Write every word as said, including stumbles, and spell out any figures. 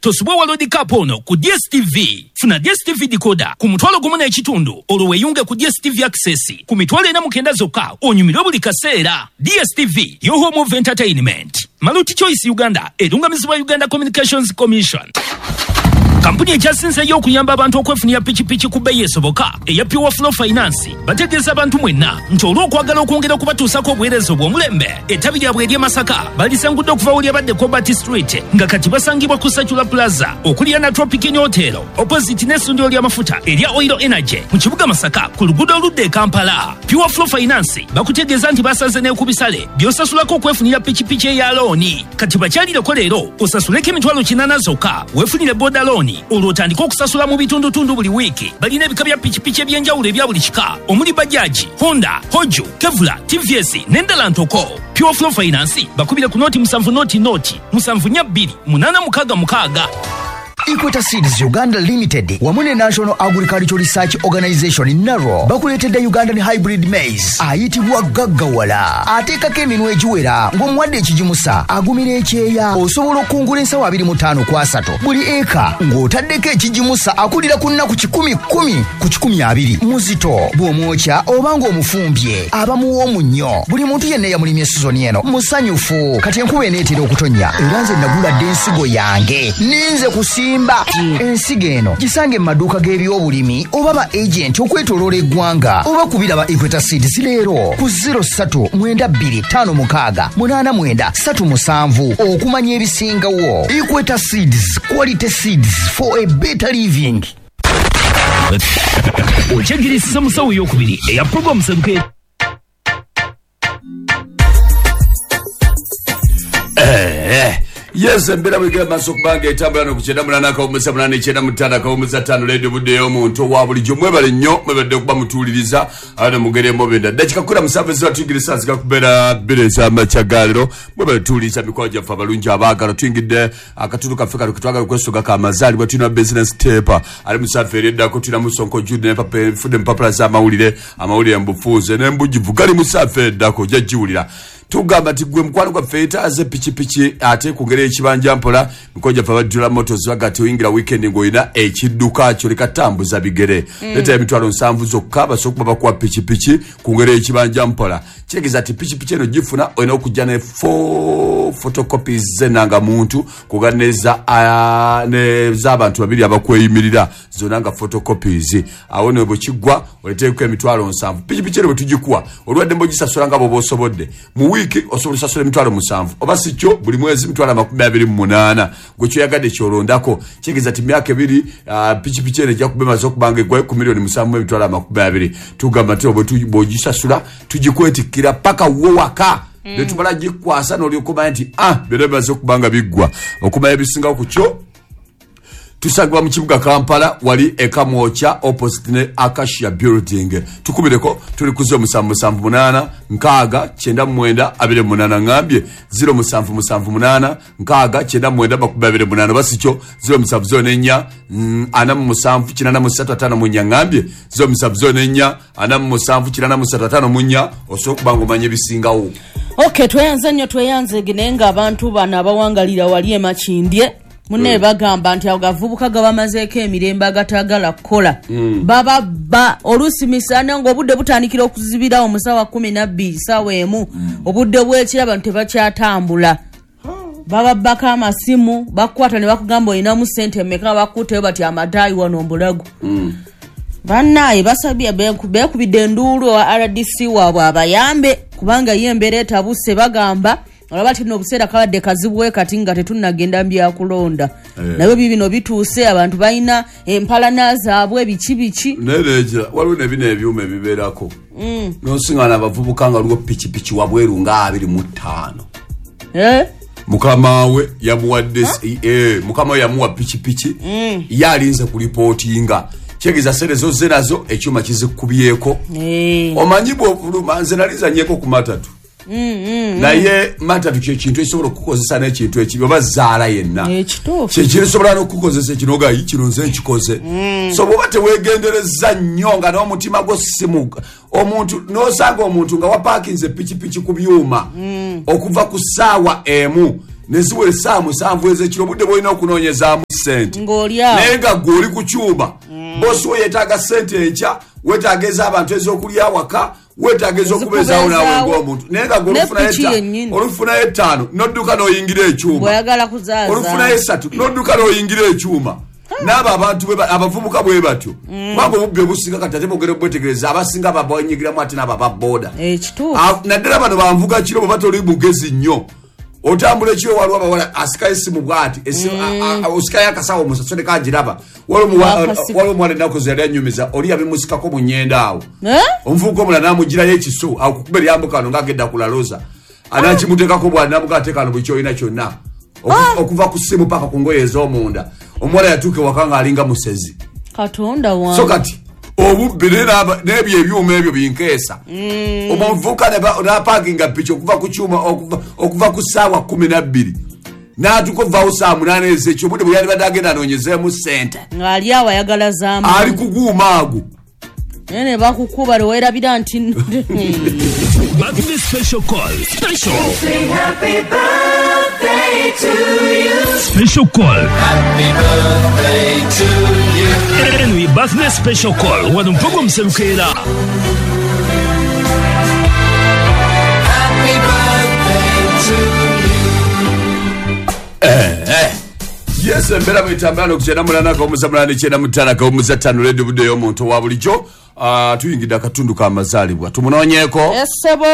Tosubwa World Cup ono ku D S T V. Funa D S T V decoder ku mutwalo gumu n'ekitundu olwo weeyunge ku D S T V Access ku mitwalo ena mu kenda zokka onyumirwe buli kaseera. D S T V, your home of entertainment. Maluti Choice Uganda erungamizibwa Uganda Communications Commission. Kampuni ekyasinzeeyo okuyamba abantu okwefunira pikipiki ku bbeeyi esoboka eya Pure Flow Finance bategeeza abantu mwenna nti olw'okwagala okwongera okubatuusako obuweereza obw'omulembe, ettabi lyabwe ery'e Masaka balisangudde okuva wali abadde Cobalt Street nga kati basangibwa ku Sacula Plaza okuliraana Tropic Inn Hotel opposite n'essundiro ly'amafuta erya Oil Energy mu kibuga Masaka ku luguudo oludda e Kampala. Pure Flow Finance bakutegeeza nti basaze ne ku bisale by'osasulako okwefunira pikipiki eya looni. Kati bakyalireko leero osasuleko emitwalo kinaana zokka weefunire boda looni olwo otandike okusasula mu bitundutundu buli wiiki. Balina ebika bya pikipiki eby'enjawulo ebya buli kika omuli Bajaji, Honda, Hoju, Kevula, T V S n'endala ntoko. Pure Flow Finance bakubire ku noti musanvu noti noti musanvu nnya bbiri munaana mukaaga mukaaga. Equator Seeds Uganda Limited wamu ne National Agricultural Research Organization NARO bakuleetedde Ugandan Hybrid Maize ayitibwa Gaggawala. Ateekako eminwe egiwera ng'omuwadde ekigimusa, agumira ekyeya, osobola okukungula ensawo abiri mu ttaano ku asatu buli eka ng'otaddeko ekigimusa akulira ku nnaku kikumi kkumi ku kikumi abiri. Muzito bw'omwokya oba ng'omufumbye aba muwoomu nnyo. Buli muntu yenna eyamulimye sizoni eno musanyufu. Kati enkuba eneetera okutonnya era nze nagula dda ensigo yange ninze kusimba. Ensigo eno gisange mu maduuka g'ebyobulimi oba ba agenti okwetooloola eggwanga oba kubira ba Equator Seeds leero ku zero ssatu mwenda bbiri ttaano mukaaga munaana mwenda ssatu musanvu okumanya ebisingawo. Equator Seeds, quality seeds for a better living. Okyegirisa musawo ey'okubiri eya program Seruke. Eh, yes, embeera bwegera maaso okubanga etambula n'okukyenda munaana akawummuza munaana ekyenda mu ttaano akawummuza ttaano leediyo budde ey'omuntu owa bulijjo. Mwebale nnyo, mwebadde okuba mutuwuliriza ate mugere mubenda. Ddakika kkumi na musanvu eziba tuyingira essaawa zigakubeera bbiri ez'amakya ga leero. Mwebale tuwuliriza mikwano gyaffe abalungi abaagala. Tuyingidde akatundu kaffe kano ke twagala okwesogako amazaalibwa. Tulina business tape ali mu saafa eri eddako, tulina Musonko Jude n'empapa enfudde empapula z'amawulire, amawulire mu bufunze n'embugivu gali mu saafa eddako, ojja giwulira. Tugamba nti gwe mukwano gwaffe yeetaaze pikipiki ate ku ngeri y'ekibanja mpola. Mikwano gyaffe abajjula Motors baga nti oyingira weekend ng'olina ekidduka kyo leka tambuza bigere. Leeta emitwalo nsanvu zokka basobola okuba bakuwa pikipiki ku ngeri y'ekibanja mpola. Kitegeeza nti pikipiki eno gifuna olina okujja ne four photocopies z'ennangamuntu kuga n'ez'abantu babiri abakweyimirira zonna nga photocopies. Awo ne bwe kiggwa oleeteeko emitwalo nsanvu. Pikipiki eno bwe tugikuwa olwadde mbw'ogisasula nga bw'oba osobodde. Mu wiiki osobola osasula emitwalo musanvu oba si kyo buli mwezi emitwalo amakumi abiri mu munaana. Gwe kyoyagadde kyolondako. Kitegeeza nti myaka ebiri pikipiki eno ejja kuba emaze okuba nga eggwayo ku miliyoni musanvu mu emitwalo amakumi abiri. Tugamba nti bw'ogisasula tugikwetikkira paka wo waka. Ne tumala gikwasa n'olyoka omanya nti ah byonna bimaze okuba nga biggwa. Okumanya ebisingawo ku kyo tusangibwa mu kibuga Kampala wali e Kamwokya opposite ne Acacia Building. Tukubireko tuli ku zero musanvu musanvu munaana nkaaga kyenda mu mwenda abiri mu munaana. Ngambye zero musanvu musanvu munaana nkaaga kyenda mu mwenda makumi abiri mu munaana oba si kyo zero musanvu zero n'ennya ana mu musanvu kinaana mu ssatu ataano mu nnya. Ngambye zero musanvu zero n'ennya ana mu musanvu kinaana mu ssatu ataano mu nnya osobola okuba ng'omanya ebisingawo. Okay, tweyanze nnyo tweyanze naye ng'abantu bano abawangalira wali e Makindye munne bagamba nti agavubuka gabamazeeko emirembe agatagala kukola baba ba oluusi misana ng'obudde butandikira okuzibirawo mu ssaawa kkumi na bbiri ssaawa emu obudde bw'ekiro abantu tebakyatambula. Bababbako amasimu bakukwata ne bakugamba olinamu ssente mmeka bakuteyo bati amataayi wano mbulago. Bannaye basabye beekubidde enduulu owa R D C waabwe abayambe kubanga ye embeera etabuse. Bagamba olaba nti nno obuseera kabadde kazibu kati nga tetunnagenda mu byakulonda. Naye bibino bituuse abantu balina empalana zaabwe biki biki. Naye waliwo ne bino ebyuma ebibeerako n'osiŋŋaana abavubuka nga waliwo pikipiki wabweru nga abiri mu ttaano. Mukama we yamuwadde mukama we yamuwa pikipiki ye alinze kulipootinga. Kitegeeza ssente zozze nazo ekyuma kizikubyeko. Omanyi bw'ofuluma nze nali nzannyeko ku matatu. Naye matatu kye kintu ekisobola okukozesa n'ekintu ekibi oba zaala yenna. Kye kisobola n'okukozesa ekinoga kino nze nkikoze. So bw'oba teweegendereza nnyo nga n'omutima gwo simuga omuntu n'osanga omuntu nga wapaakinze pikipiki ku byuma okuva ku ssaawa emu Neziwera essaawa musanvu ez'ekiro, obudde bw'olina okunoonyezaamu ssente Ng'oli awo. Naye nga gwe oli ku kyuma, bosi we yeetaaga ssente enkya, weetaaga ez'abantu ez'okulya awaka, weetaaga ez'okubeezaawo naawe Ezikubeezaawo. ng'omuntu, naye nga gwe Ne olufunayo piki etta- yennyini. olufunayo ettaano n'odduka n'oyingira ekyuma, Bw'oyagala kuzaaza. Olufunayo esatu n'odduka n'oyingira ekyuma. N'abo abantu bwe ba- abavubuka bwe batyo, kubanga obubbi obusinga kati ate bwogera obwetegereza, abasinga babanyigiramu ate n'abo aba booda. Ekituufu. Ah, naddala bano banvuga kiro. Bwe batoli mugezi nnyo, otambula ekiro, waliwo abawala asikayo esimu bwati, esi- a- a- osikayo akasawo omusasule kagiraba. Waliwo omuwa- Wakasika. Waliwo omuwala ennaku ze yali anyumiza, oli yabimusikako mu nyenda awo. Eh? Omuvubuka omulala namugirayo ekisu awo kukuba eryambuka ano ngaagedda ku laloza, anakimuteekako bwanamuga ateekano buli kyolina kyonna. Oku- okuva ku ssimu paka ku ngoye ez'omunda. Omuwala yatuuka ewaka ng'alinga musezi. Katonda wange. So kati obubbi naye n'aba- n'ebyo ebyuma ebyo binkeesa. Omuvubuka ne ba- n'apakinga piki okuva ku kyuma okuva- okuva ku ssaawa kumi nabbiri n'atuuka ovaawo saa munaana ezekyo, obudde bwe yalibadde agenda anoonyezeemu ssente. Ng'ali awo ayagala zaamu. Ali kuguuma ago. Naye ne bakukuba lwewerabira nti Birthday special call. Special. Sing happy birthday to you. Special call. Anyway, birthday special call. Wano mpogo mserukeera. Happy birthday to you. Yes, embeera bwetambula nokukyenda munana kawumuza munana ekyenda mutaano kawumuza ttaano, ledio budde ey'omuntu owa bulijjo. Ah, tuyingidde akatundu k'amazaalibwa, tumunoonyeeko. Essebo.